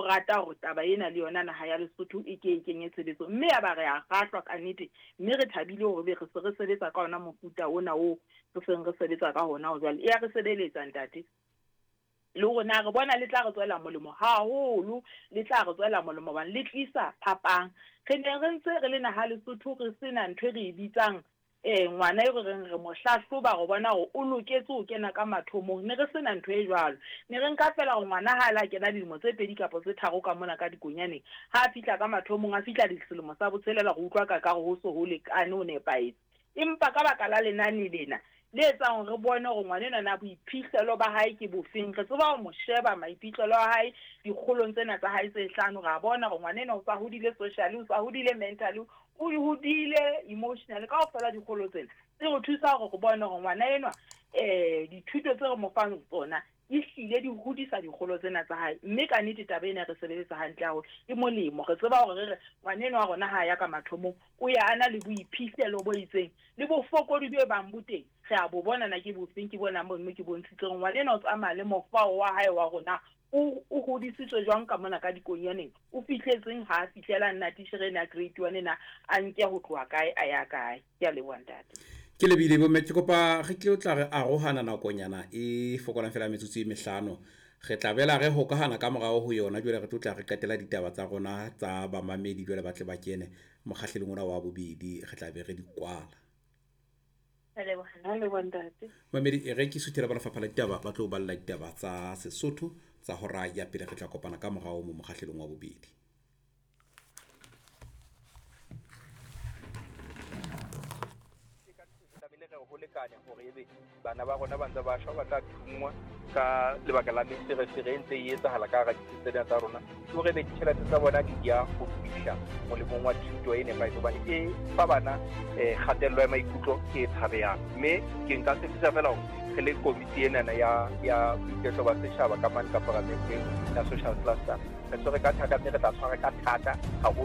rata hore taba ena le yona naha ya Lesotho e ke e kenye tshebetsong. Mme ya ba re a kgahlwa ka nnete, mme re thabile hore ebe re se re sebetsa ka ona mofuta ona oo re seng re sebetsa ka hona ho jwale. E ya re sebeletsa ntate. Le rona re bona le tla re tswela molemo haholo, le tla re tswela molemo hobane le tlisa phapang. Re ne re ntse re le naha Lesotho re sena ntho e re e bitsang Ee, ngwana eo re reng re mo hlahloba go bona gore o loketse go kena ka mathomong, ne re se na ntho e jwalo. Ne re nka feela gore ngwana ha a le a kena dilemo tse pedi kapa tse tharo ka mona ka dikonyaneng, ha a fihla ka mathomong, a fihla selemo sa botshelela, re utlwa ka kare ho se ho lekane, ho nepahetse. Empa ka baka la lenane lena, le etsang hore re bone hore ngwana enwa na boiphihlelo ba hae ke bofeng, re tseba ho mo sheba maiphihlelo a hae dikgolong tsena tsa hae tse hlano, ra bona hore ngwana enwa o sa hodile socially, o sa hodile mentally, o hodile emotionally, kaofela dikgolo tsena tse re thusa hore re bone hore ngwana enwa dithuto tse re mo fang tsona di hlile di hodisa dikgolo tsena tsa hae. Mme ka nnete taba ena e re sebeletsa hantle haholo, e molemo. Re tseba hore re re ngwana enwa wa rona ha a ya ka mathomong, o ya a na le boiphihlelo bo itseng, le bofokodi bo bang bo teng, re a bo bona na ke bofeng, ke bona mono ke bontshitse hore ngwana enwa o tsamaya le mofao wa hae wa rona o, o hodisitswe jwang ka mona ka dikonyaneng, o fihletseng ha a fihlela nna titjhere ena ya grade one ena, a nke ho tloha kae a ya kae. Ke a leboha ntate. Ke lebile bomme, ke kopa re tle o tla re arohana nakonyana e fokolang fela metsotso e mehlano. Re tla bela re hokahana ka morao ho yona jwale re tlo tla re qetela ditaba tsa rona tsa bamamedi jwale ba tle ba kene mokgahlelong ona wa bobedi, re tla be re di kwala. Mamedi e re ke suthela ba lefapha la ditaba ba tlo balla ditaba tsa Sesotho tsa hora ya pele, re tla kopana ka morao mo mokgahlelong wa bobedi. Tlamehile re ho lekane hore ebe bana ba rona ba ntse ba shwa, ba tla thunngwa ka lebaka la meferefere e ntse e etsahala ka hara ditsi tsena tsa rona, ke hore ebe ditjhelete tsa bona di ya ho fihla molemong wa thuto e nepahetseng, hobane e fa bana kgatello ya maikutlo e tshabehang. Mme ke nka tshepisa fela hore re le komiti enana ya boiketlo ba setjhaba ka mane ka paramenteng ya social cluster, re tshwere ka thata mme re tla tshwara ka thata haholo.